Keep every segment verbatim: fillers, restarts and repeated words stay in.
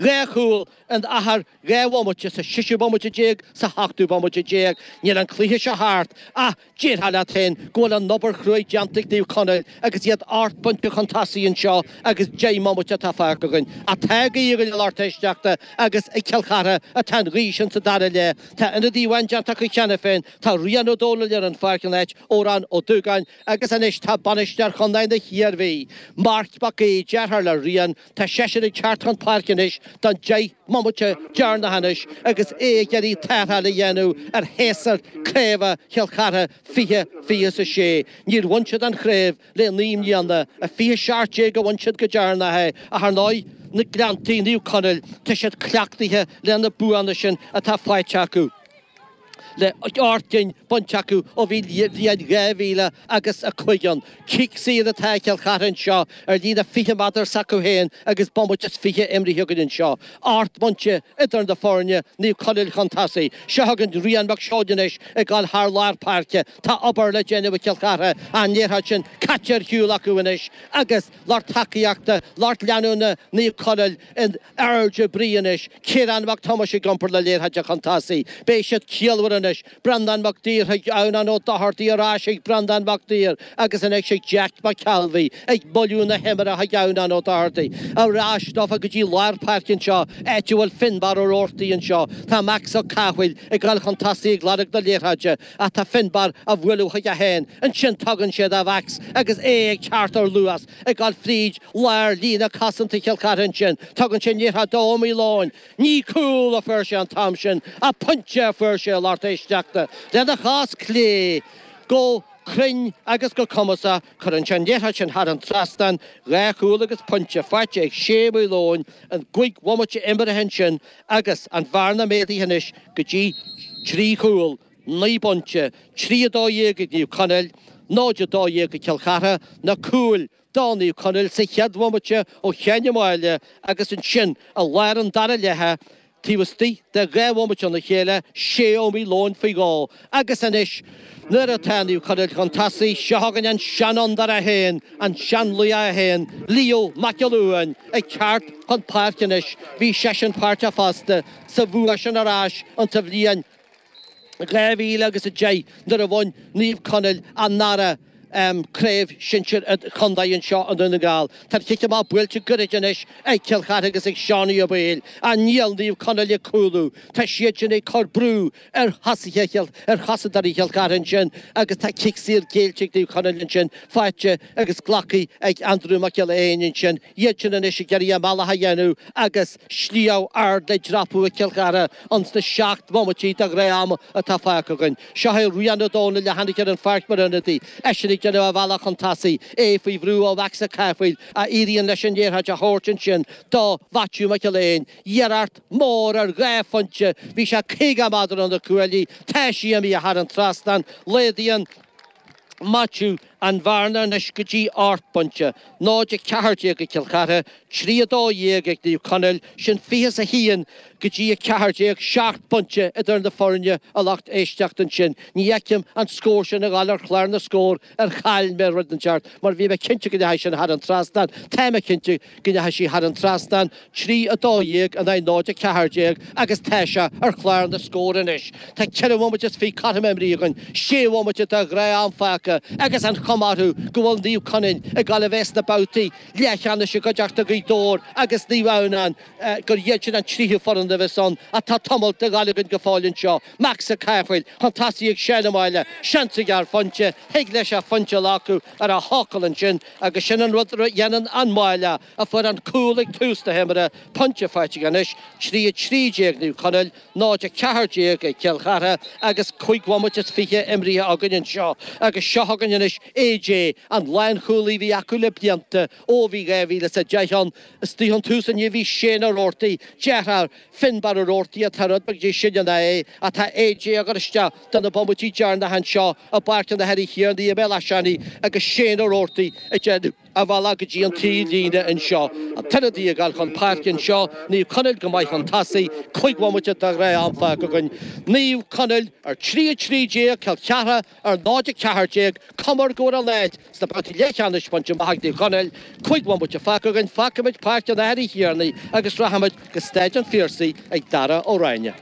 Dhá chúl in achar dhá bhomaite, sa seisiú bomaite déag, sa sheachtú bomaite déag. Níl an cluiche seo thart ach déarfá leat féin go bhfuil an obair chruaidh déanta ag Naomh Conaill agus iad ocht bpointe chun tosaigh anseo agus deich mbomaite atá fágtha againn. Ach tá gaoth againn a lucht éisteachta agus ag Cill Chartha atá an ghaoth sin sa dara leath. Tá ionadaí amháin déanta acu cheana féin, tá Rian Ó Dónaill ar an pháirc in áit Odhrán Ó Dúgáin agus anois tá bainisteoir chontae na hIarmhí, Marc Mac Aoidh, deartháir le Rian, tá seisean ag teacht chun páirce anois don deich mbomaite deireanach anois agus é ag iarraidh tarrtháil a dhéanamh ar shéasúr craoibhe Chill Chartha fiche fiche is a sé. Níor bhain siad an chraobh le naoi mbliana, i fiche seacht déag a bhain siad go deireanach é, ach ar ndóigh na Gleanntaí, Naomh Conaill, tá siad cleachtaithe le na buanna sin atá faighte acu. Le ocht gcinn bainte acu ó bhí bliain dhá mhíle agus a cúig ann. Cic saor atá ag Cill Chartha anseo ar líne fiche méadar s'acu féin agus bomaite is fiche imrithe againn anseo. Ocht bpointe idir na foirne, Naomh Conaill chun tosaigh. Seo chugainn Rian Mac Seoid anois ag dul thar lár páirce. Tá obair le déanamh ag Cill Chartha, an liathróid sin caite ar shiúl acu anois agus lucht tacaíochta, lucht leanúna Naomh Conaill in airde brí anois. Ciarán Mac Tomáis ag iompar na liathróide chun tosaigh. Beidh siad ciallmhar anois. Breandán Mac Uidhir chuig Adhamhnán Ó Dochartaigh ar ais chuig Breandán Mac Uidhir agus anois chuig Jack Mac Cealbhaigh ag moilliú na himeartha chuig Adhamhnán Ó Dochartaigh. Ar ais dófa go dtí lár páirce anseo, áit a bhfuil Finbarr Ó Roarty anseo. Tá Max Ó Cathmhaoil ag dul chun tosaigh ag lorg na liathróide ach tá Finbarr á bhualadh chuige féin. Ansin tugann sé do Mhax agus é ag teacht ar luas ag dul fríd lár líne cosanta Chill Chartha ansin. Tugann sé an liathróid d'Ó Maoileoin. Ní cúl a fuair sé an t-am sin ach pointe a fuair sé a lucht éisteachta. Lena chos clé go cruinn agus go cumasach, cuireann sé an liathróid sin thar an trasnán, dhá chúl agus pointe faighte ag Shea Maoileoin, an gcúig bhomaite imeartha ansin agus an bhearna méadaithe anois go dtí trí chúl, naoi bpointe, trí a dó dhéag ag Naomh Conaill, náid a dó dhéag ag Cill Chartha, na cúil do Naomh Conaill sa chéad bhomaite ó Sheán Ó Máille agus ansin i lár an dara leatha taobh istigh de dhá bhomaite óna chéile, Shea Ó Maoileoin faoi dhó. Agus anois nuair atá Naomh Conaill chun tosaigh, seo chugainn an seanfhondúir é féin, an seanlaoch é féin, Leo Mac Giolla Uain, ag teacht chun páirce anois. Bhí seisean páirteach fosta sa bhua sin ar ais insa bhliain dhá mhíle agus a deich nuair a bhain Naomh Conaill an dara craobh shinsir chontae anseo i nDún na nGall. Tá an chic amach buailte gairid anois ag Cill Chartha agus ag Seánie Ó Baoill. Ach níl Naomh Conaill ag cúlú. Tá siad sin ag cur brú ar thosaithe ar chosantóirí Chill Chartha ansin agus tá cic saor géillte ag Naomh Conaill ansin faighte agus glactha ag Andrew Mac Giolla Éin ansin. Iad sin anois ag iarraidh a mbealach a dhéanamh agus sliabh ard le dreapadh ag Cill Chartha ins na seacht mbomaití de ghnáth-am atá fágtha againn. Seo é Rian Ó Dónaill a tháinig ar an pháirc mar ionadaí. Eisean ag déanamh a bhealach chun tosaigh, é faoi bhrú ó Mhax Ó Cathmhaoil a éiríonn leis an liathróid a thabhairt ansin do Mhaitiú Mac Giolla Éin. Iarracht mhór ar dhá phointe, bhí sé caoga méadar ó na cuaillí, tá sí imithe thar an trasnán, laghdaíonn Maitiú an bhearna anois go dtí ocht bpointe, náid a ceathair déag ag Cill Chartha, trí a dó dhéag ag Naomh Conaill, sin fiche is a haon go dtí a ceathair déag, seacht bpointe idir na foirne a lucht éisteachta ansin. Ní fheicim an scór sin ag dul ar chlár na scór ar chaill mé rud inteacht mar bhí mé cinnte go ndeachaigh sin thar an trasnán, tá mé cinnte go ndeachaigh sí thar an trasnán, trí a dó dhéag in aghaidh náid a ceathair déag agus tá sé ar chlár na scór anois. Tá ceithre bhomaite is fiche cothrom imrithe againn, sé bhomaite de ghnáth-am fágtha agus an chuma orthu go bhfuil Naomh Conaill ag dul a bheith sna babhtaí leathcheannais i gcuideachta Ghaoth Dobhair agus Naomh Adhamhnáin gur iad sin an tríú foireann a bheas ann ach tá tamall de ghabháil againn go fóill anseo. Max Ó Cathmhaoil chun tosaigh ag Seán Ó Máille, seans aige ar phointe, thig leis an phointe a ghlacadh ar a thrucail ansin agus sin an rud a dhéanann an Máilleach a fuair an cúl ag tús na himeartha, pointe faighte aige anois, trí a trí déag Naomh Conaill, náid a ceathair déag ag Cill Chartha agus cúig bhomaite is fiche imrithe againn anseo agus seo chugainn anois A J, an lánchúlaí a bhí acu le blianta ó bhí dhá mhíle is a deich ann. Istigh ón tús inniu bhí Shane Ó Roarty, deartháir Finbarr Ó Roarty atá rud beag níos sine ná é, ach tá A J ag cur isteach do na bomaití deireanacha anseo i bPáirc an Athar Uí Thiarnaigh i mBéal Átha Seanaidh agus Shane Ó Roarty ag déanamh a mhealladh go dtí an taobhlíne anseo. An t-ionadaí ag dul chun páirce anseo, Naomh Conaill go maith chun tosaigh, cúig bhomaite de ghnáth-am fágtha againn. Naomh Conaill ar trí a trí déag, Cill Chartha ar náid a ceathair déag, cuma go bhfuil an áit sna babhtaí leathcheannais bainte amach ag Naomh Conaill. Cúig bhomaite fágtha againn, fágfaimid Páirc an Athar Uí Thiarnaigh agus rachaimid go Staid an Phiarsaigh ag Dara Ó Ráinne.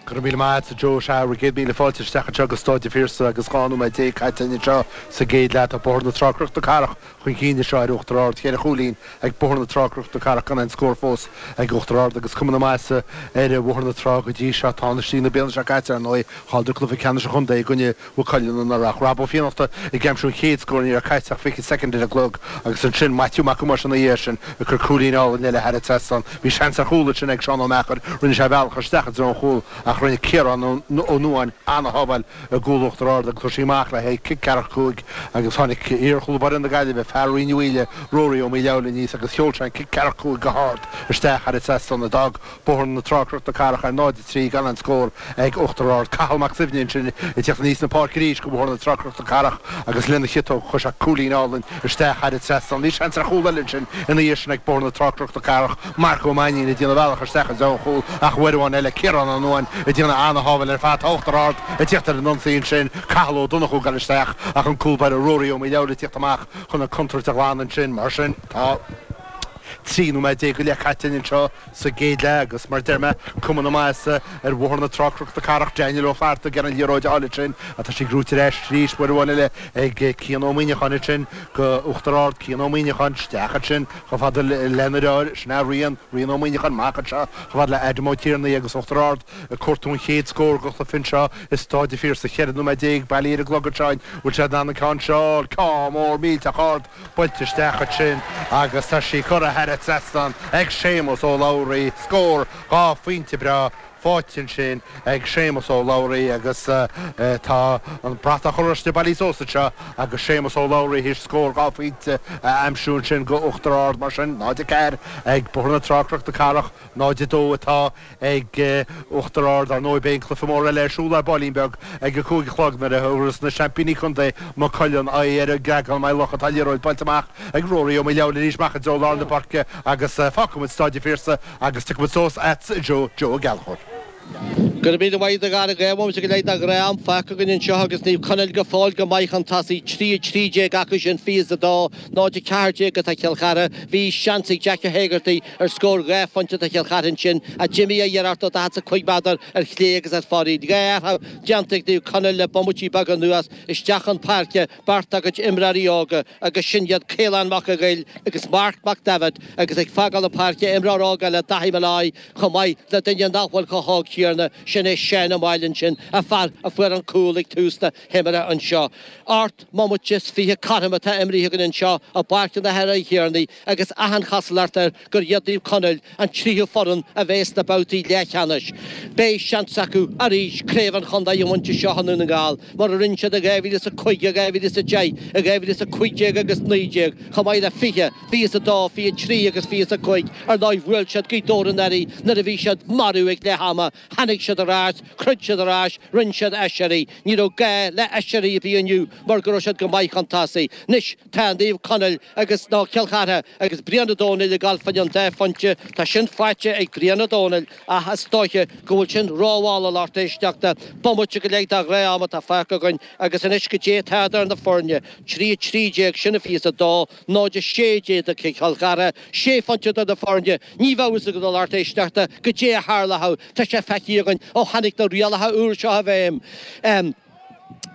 Go raibh míle maith agat, Joe. Sea, bhur gcéad míle fáilte isteach anseo go Staid an Phiarsaigh agus dhá nóiméad déag caite anseo sa gcéad leath. Tá Bóthar na Trá Cnoc na Cathrach chun cinn anseo ar Uachtar Ard. Ceithre chúilín ag Bóthar na Trá Cnoc na Cathrach gan aon scór fós ag Uachtar Ard agus cuma na maitheasa ar Bhóthar na Trá go dtí seo. Tánaistí na bliana seo caite, ar ndóigh, chailleadar cluiche ceannais an chontae i gcoinne Mhaigh Cuilinn anuraidh. Rob Ó Fiannachta ag aimsiú an chéad scór, ní raibh caite ach fiche soicind ar an gclog agus ansin Maitiú Mac Amuis ina dhiaidh sin ag cur cúilín álainn eile thar an trasnán. Bhí seans ar chúl ansin ag Seán Ó Meachair, rinne sé a bhealach isteach i dtreo an chúil ach rinne Ciarán Ó Nuáin an-shábháil i gcúl Uachtar Ard agus chuir sí amach le haghaidh cic ceathracha cúig agus tháinig iar-chúl báire na Gaillimhe, fear Rinn Uí Mhaoile, Rory Ó Maoileabhail aníos agus sheol sé an cic ceathracha cúig go hard isteach thar an trasnán a d'fhág Bóthar na Trá Cnoc na Cathrach ar náid a trí gan aon scór ag Uachtar Ard. Cathal Mac Suibhne ansin ag teacht aníos na páirce arís go Bóthar na Trá Cnoc na Cathrach agus lena chiotóg chuir sé cúilín álainn isteach thar an trasnán. Bhí seans ar chúl eile ansin ina dhiaidh sin ag Bóthar na Trá Cnoc na Cathrach, Marc Ó Mainnín ag déanamh a bhealach isteach i dtreo an chúil ach uair amháin eile Ciarán Ó Nuáin ag déanamh an-shábháil ar fad. Tá Uachtar Ard ag teacht ar an ionsaí ansin, Cathal Ó Donnchú ag dul isteach ach an cúl báire Rory Ó Maoileabhail ag teacht amach chun an chontúirt a ghlanadh ansin. Mar sin tá trí nóiméad déag go leith caite anseo sa gcéad leath agus mar deir mé, cuma na maitheasa ar Bhóthar na Trá Cnoc na Cathrach. Daniel Ó Flatharta ag iarraidh an liathróid a fháil ansin ach tá sí gnóite ar ais arís uair amháin eile ag Cian Ó Muineacháin ansin go Uachtar Ard. Cian Ó Muineacháin isteach ansin chomh fada lena dheartháir, sin é Rian, Rian Ó Muineacháin amach anseo chomh fada le Adam Ó Tiarnaigh agus Uachtar Ard ag cuartú an chéad scór den chluiche anseo i Staid an Phiarsaigh. Ceithre nóiméad déag bailí ar an gclog anseo. Bhfuil siad in ann an ceann seo a fháil? Ceann mór millteach ard buailte isteach ansin agus tá sí curtha thar an trasnán ag Séamus Ó Labhraí. Scór dhá phointe breá faighte ansin ag Séamus Ó Labhraí agus tá an bratach oráiste bailithe suas anseo agus Séamus Ó Labhraí théis scór dhá phointe a aimsiú ansin go Uachtar Ard. Mar sin, náid a ceathair ag Bóthar na Trá Cnoc na Cathrach, náid a dó atá ag Uachtar Ard. Ar ndóigh, beidh an cluiche mór eile ar siúl ar baillín beag ag a cúig a chlog nuair a thabharfas na seaimpíní contae Maigh Cuilinn aghaidh ar an gCreagán Maigh Locha. Tá liathróid buailte amach ag Rory Ó Maoileabhail arís amach i dtreo lár na páirce agus fágfaimid Staid an Phiarsaigh agus tiocfaimid suas agat Joe, Joe Ó Gallchóir. Go raibh míle maith agat a Dhara. Dhá bhomaite go leith de ghnáth-am fágtha againn anseo agus Naomh Conaill go fóill go maith chun tosaigh, trí a trí déag acu sin, fiche is a dó, náid a ceathair déag atá Cill Chartha. Bhí seans ag Jack Ó hÉigeartaigh ar scór dhá phointe do Chill Chartha ansin ach d'imigh a iarracht ó daichead is a cúig méadar ar chlé agus ar fóraoil. Dhá athrú déanta ag Naomh Conaill le bomaití beaga anuas isteach chun páirce beirt dá gcuid imreoirí óga agus sin iad Caolán Mac a' Ghoill agus Marc Mac Daibhéid agus ag fágáil na páirce imreoir óg eile Daithí Molloy chomh maith le duine nach bhfuil chomh hóg céanna, sin é Seán Ó Máille ansin, an fear a fuair an cúl ag tús na himeartha anseo. Ocht mbomaite is fiche cothrom atá imrithe againn anseo i bPáirc an Athar Uí Thiarnaigh agus achan chosúlacht air gur iad Naomh Conaill an tríú foireann a bheas sna babhtaí leathcheannais. Beidh seans acu arís craobh an chontae a bhaint anseo i nDún na nGall, mar a rinne siad i dhá mhíle is a cúig, i dhá mhíle is a deich, i dhá mhíle is a cúig déag agus naoi déag, chomh maith le fiche, fiche is a dó, fiche trí agus fiche is a cúig. Ar ndóigh, bhuail siad Gaoth Dobhair anuraidh nuair a bhí siad marbh ag leath ama. Tháinig siad ar ais, throid siad ar ais, rinne siad aiséirí. Ní raibh gá le aiséirí ar bith inniu mar go raibh siad go maith chun tosaigh. Anois tá Naomh Conaill agus, nó Cill Chartha agus Brian Ó Domhnaill ag gabháil fá choinne an dá phointe. Tá sin faighte ag Brian Ó Domhnaill ach is dóiche go bhfuil sin rómhall a lucht éisteachta. Bomaite go leith de ghnáth-am atá fágtha againn agus anois goidé atá idir na foirne. Trí a trí déag, sin a fiche is a dó, náid a sé déag do Chill Chartha, sé phointe idir na foirne. Ní bheadh fhios agat a lucht éisteachta goidé a tharlódh. Tá sé feicthe againn ó tháinig na rialacha úr seo i bhfeidhm.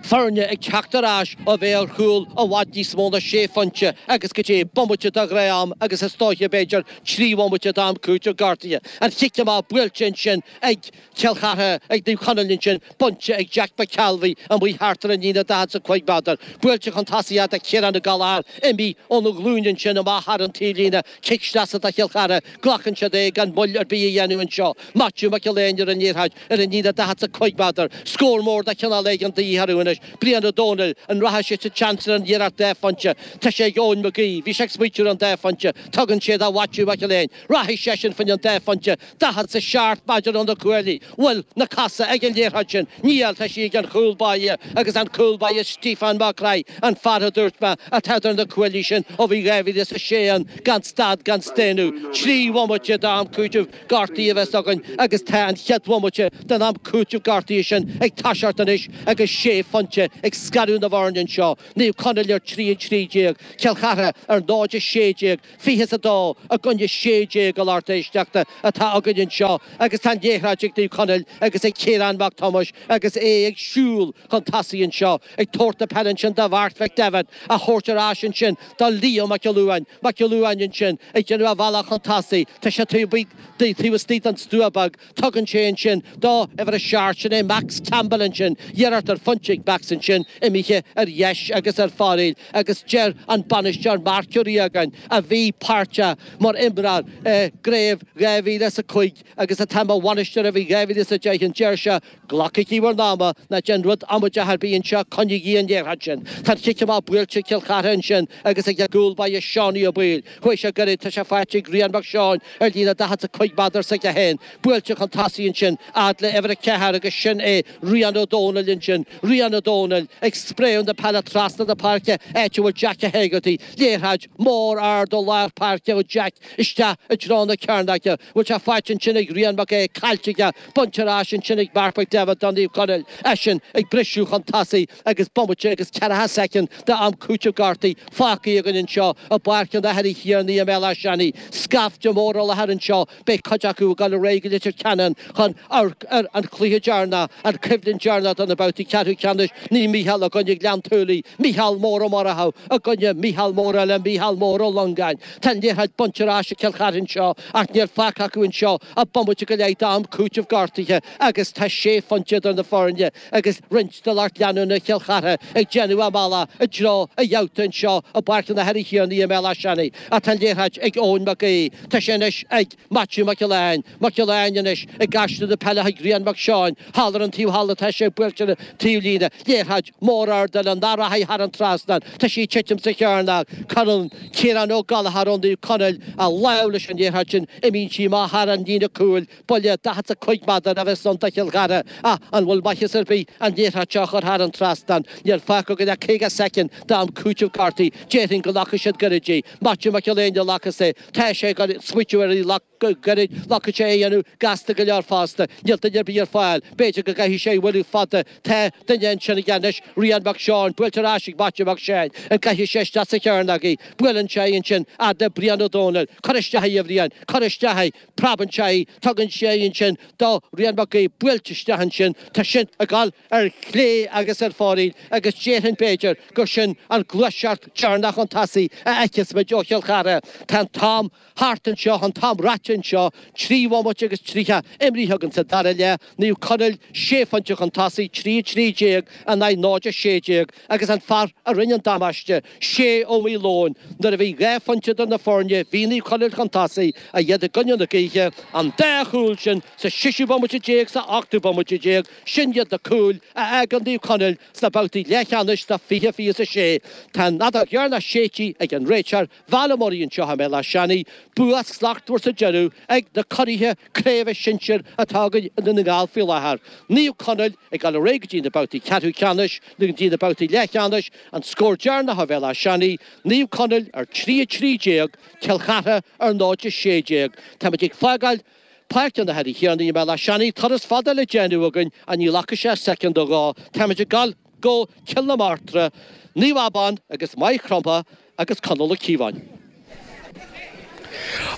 Foirne ag teacht ar ais ó bheith ar chúl i bhfad níos mó ná sé phointe agus goidé bomaite de ghnáth-am agus is dóiche b'fhéidir trí bhomaite d'am cúitimh gortaithe. An chic amach buailte ansin ag Cill Chartha, ag Naomh Conaill ansin, bainte ag Jack McKelvey amuigh thart ar an líne daichead is a cúig méadar. Buailte chun tosaigh do Chiarán Ó Gallchóir, imithe óna ghlúin ansin amach thar an taobhlíne. Cic sleasa do Chill Chartha. Glacann siad é gan moill ar bith a dhéanamh anseo. Maitiú Mac Gill Éain ar an liathróid ar an líne daichead is a cúig méadar. Scór mór de chineál éigin de dhíth orthu. déanamh anois. Brian Ó Dónaill, an rachaidh sé sa tseans ar an iarracht dhá phointe? Tá sé ag Eoin McGee, bhí sé ag smaoitiú ar an dá phointe, tugann sé do Mhaitiú Mac Gill-Eain, rachaidh seisean faoin an dá phointe, daichead 's a seacht méadar ó na cuaillí, bhfuil na cosa ag an liathróid sin? Níl, tá sí ag an chúl báire agus an cúl báire Stiofán Mac Craith, an fear a dúirt mé atá idir na cuaillí sin ó bhí dhá mhíle is a sé ann gan stad gan staonadh. Trí bhomaite d'am cúitimh gortaithe a bheas againn agus tá an chéad bhomaite den am cúitimh gortaithe sin ag toiseacht anois agus sé phointe ag scaradh na bhfoirne anseo, Naomh Conaill ar trí a trí déag, Cill Chartha ar náid a sé déag, fiche is a dó i gcoinne sé déag a lucht éisteachta atá againn anseo agus tá an liathróid ag Naomh Conaill agus ag Ciarán Mac Thomáis agus é ag siúl chun tosaigh anseo ag tabhairt na peile ansin do Mharc McDevitt á thabhairt ar ais ansin do Leo Mac Gill-Uain, Mac Gill-Uain ansin ag déanamh a bhealach chun tosaigh, tá sé taobh istigh den stua beag, tugann sé ansin do uimhir a seacht, sin é Max Campbell ansin, iarracht ar phointe ag Max ansin, imithe ar dheis agus ar fóraoil agus deir an bainisteoir Mark Ó Riagáin, a bhí páirteach mar imreoir i gcraobh dhá mhíle is a cúig agus atá mar bhainisteoir ó bhí dhá mhíle is a deich, an deir sé, Glacaigí bhur n-ama, ná déan rud amaideach ar bith anseo, coinnígí an liathróid sin. Tá an chic amach buailte ag Cill Chartha ansin agus ag a gcúl báire Seánie Ó Baoill. Chuaigh sé gairid, tá sé faighte ag Rian Mac Seáin ar líne daichead 's a cúig méadar s'aige féin. Buailte chun tosaigh ansin, fhad le uimhir a ceathair agus sin é Rian Ó Dónaill ansin. Rian Ó Dónaill ag spréadh na peile trasna na páirce, áit a bhfuil Jack Ó hÉigeartaigh. Liathróid mhór ard ó lár páirce ó Jack isteach i dtreo na cearnóige. Bhfuil sé faighte ansin ag Rian Mac Aodha, caillte aige, bainte ar ais ansin ag Mark McDevitt do Naomh Conaill, eisean ag briseadh chun tosaigh agus bomaite agus ceathracha soicind d'am cúitimh gortaithe fágtha againn anseo i bPáirc an Athar Uí Thiarnaigh i mBéal Átha Seanaidh. Scaifte mór i láthair anseo, beidh cuid acu ag dul ar aghaidh go Leitir Ceanainn chun amharc ar an chluiche deireanach, an choimhlint deireanach do na babhtaí ceathrú ceannais, Naomh Mícheál i gcoinne Ghleann tSúilí, Mícheál Mór Ó Murchú i gcoinne Mícheál Mór eile, Mícheál Mór Ó Longáin. Tá an liathróid bainte ar ais ag Cill Chartha anseo ach níl fágtha acu anseo ach bomaite go leith d'am cúitimh gortaithe agus tá sé phointe idir na foirne agus roinnt de lucht leanúna Chill Chartha ag déanamh a mbealach i dtreo an gheabhta anseo i bPáirc an Athar Uí Thiarnaigh i mBéal Átha Seanaidh. Ach tá an liathróid ag Eoin Mac Aoidh. Tá sé anois ag Maitiú Mac Gill-Eain. Mac Gill-Eain anois ag aistriú na peile chuig Rian Mac Seáin. Thall ar an taobh thall atá sé buailte ar an taobhlíne. Liathróid mhór ard eile nach rachaidh thar an trasnán. Tá sí ag titim sa chearnóg. Cuireann Ciarán Ó Gallchóir ó Naomh Conaill a lámh leis an liathróid sin. Imíonn sí amach thar an líne cúil. Buille daichead 's a cúig méadar a bheas ann do Chill Chartha. Ach an bhfuil maitheas ar bith an liathróid seo a chur thar an trasnán? Níl fágtha againn ach caoga soicind d'am cúitimh gortaithe. Déarfainn go nglacfaidh siad gairid í. Maitiú Mac Gill Éin a ghlacfas é. Tá sé ag smaoitiú ar í gairid. Ghlacfaidh sé é a dhéanamh gasta go leor fosta. Níl duine ar bith ar fáil. B'fhéidir go gcaithfidh sé a bhualadh fada. Tá duine ansin aige anois, Rian Mac Seáin, buailte ar ais ag Maitiú Mac Seáin. An gcaithfidh sé isteach sa chearnóg í? Buaileann sé í ansin fhad le Brian Ó Dónaill. Cuir isteach í, a Bhriain. Cuir isteach í. Preabann sé í. Tugann sé í ansin do Rian Mac Aoidh. Buailte isteach ansin. Tá sin ag dul ar chlé agus ar fóraoil agus déarfainn b'fhéidir gur sin an ghluaiseacht deireanach chun tosaigh a fheicfeas muid ó Chill Chartha. Tá an t-am thart anseo, an t-am ráite anseo, trí bhomaite agus tríocha imrithe againn sa dara leath, Naomh Conaill sé phointe chun tosaigh, trí a trí déag in aghaidh náid a sé déag, agus an fear a rinne an damáiste, Shay Ó Maoileoin, nuair a bhí dhá phointe idir na foirne, bhí Naomh Conaill chun tosaigh, ach iad i gcoinne na gaoithe, an dá chúl sin sa seisiú bomaite déag, sa ochtú bomaite déag, sin iad na cúil a fhágann Naomh Conaill sna babhtaí leathcheannais do fiche fiche is a sé. Tá an fheadóg dheireanach séidte ag an réiteoir, Val Ó Muirí anseo i mBéal Átha Seanaidh, bua slachtmhar sa deireadh ag na curaithe craoibhe sinsir atá againn i nDún na nGall faoi láthair. Naomh Conaill ag dul ar aghaidh go dtí na babhtaí ceathrú ceannais nó go dtí na babhtaí leathcheannais. An scór deireanach ó Bhéal Átha Seanaidh, Naomh Conaill ar trí a trí déag, Cill Chartha ar náid a sé déag. Táimid ag fágáil Páirc an Athar Uí Thiarnaigh i mBéal Átha Seanaidh, turas fada le déanamh againn ach ní ghlacfaidh sé soicind nó dhó. Táimid ag dul go Cill na Martra, Naomh Abán agus Maigh Chromtha agus Conall Ó Cíobháin.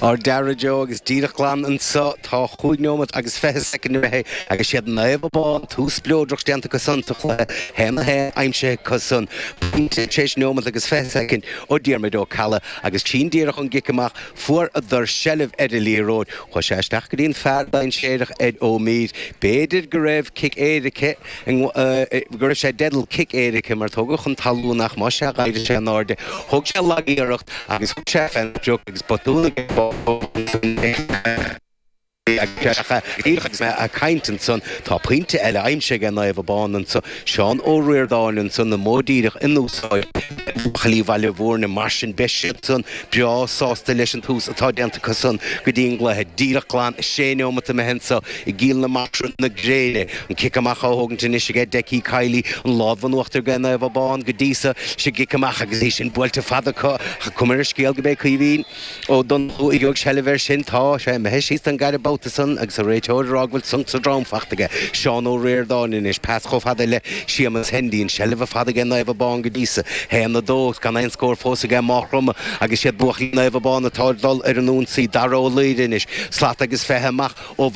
Ar deireadh, Joe, agus díreach glan anseo, tá chúig neomat agus fiche soicind imithe agus siad Naomh Abán, tús spleodrach déanta acu san sa chluiche, haon a haon aimsithe acu san, pointe tar éis neomat agus fiche soicind ó Diarmuid Ó Ceallaigh agus tinn díreach ón gcic amach, fuaireadar seilbh ar an liathróid, chuaigh sé isteach go dtí an fear dainséarach ar Ó Mír, b'fhéidir go raibh cic éirice, go raibh sé i dteideal cic éirice mar tógadh chun talún ach más ea d'éirigh sé in airde. Thóg sé lag-iarracht agus thug sé fén sprioc agus botún aige Agus mé ag caint ansan tá pointe eile aimsithe ag Naomh Abán anso Seán Ó Ríordáin ansan an modh díreach in úsáid buachaillí Bhaile Bhúirne mar sin beidh siad san breá sásta leis an tús atá déanta acu san go dtí an gcluiche díreach glan sé neomat imithe anso i gCill na Martra na gréine an cic amach á thógaint anois aige Decky Kiely an lámh in uachtar ag Naomh Abán go dtí so sa gcic amach agus é sin buailte fada acu cuma ar an scéal go mbeidh Caoimhín Ó Donnchú ag seilbh air sin tá sé imithe síos don gceathrú babhta san agus an réiteoir ag rá go bhfuil sonc sa drom fachta aige Seán Ó Ríordáin anois pas chomh fada le Séamus Hendy an seilbh ar fad aige Naomh Abán go dtí so haon a dó gan aon scór fós aige Maigh Chromtha agus siad buachaillí Naomh Abán atá ag dul ar an ionsaí Dara Ó Laoire anois slat agus fiche amach ó